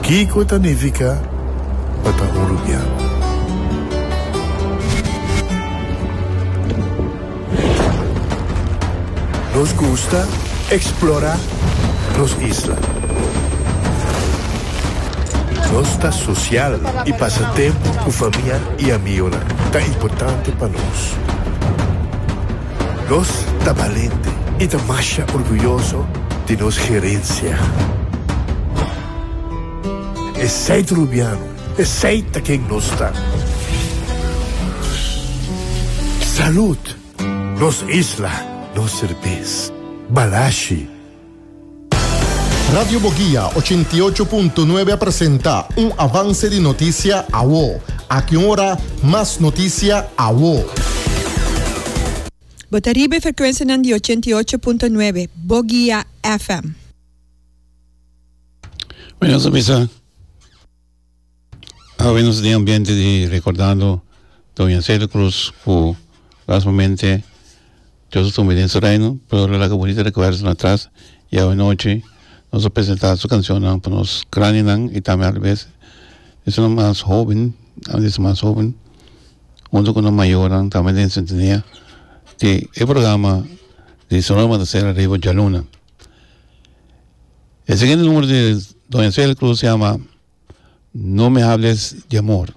Kiko ta nifiká pa ta un rubiano? Nos gusta eksplorá nos isla. Nos ta sosial i pasa tempu ku famia i amigonan ta importante pa nos. Nos ta balente i ta masha orguyoso di nos gerensia. Esei ta Rubiano, esei ta ken nos ta. Salud! Nos isla, nos serbes. Balashi. Radio Boguia 88.9 a presenta un avance di noticia awo. Aki un ora, mas noticia awo. Bo ta riba e frekuensianan di 88.9 Boguia FM. Bueno, nos a bisa awe nos den ambiente di recordando Doña Celia Cruz cu lastimamente Dios a tuma den su reino, pero el a laga bunita recuerdonan atras y awe nochi nos a presenta su cancionnan pa nos grandinan y tambe alabes esunnan mas hoben, esun mas hoben hunto cu nan mayornan tambe den sintonia di e programa di Sonora Matancera riba djaluna. E siguiente numero di Doña Celia Cruz se llama No me hables de amor.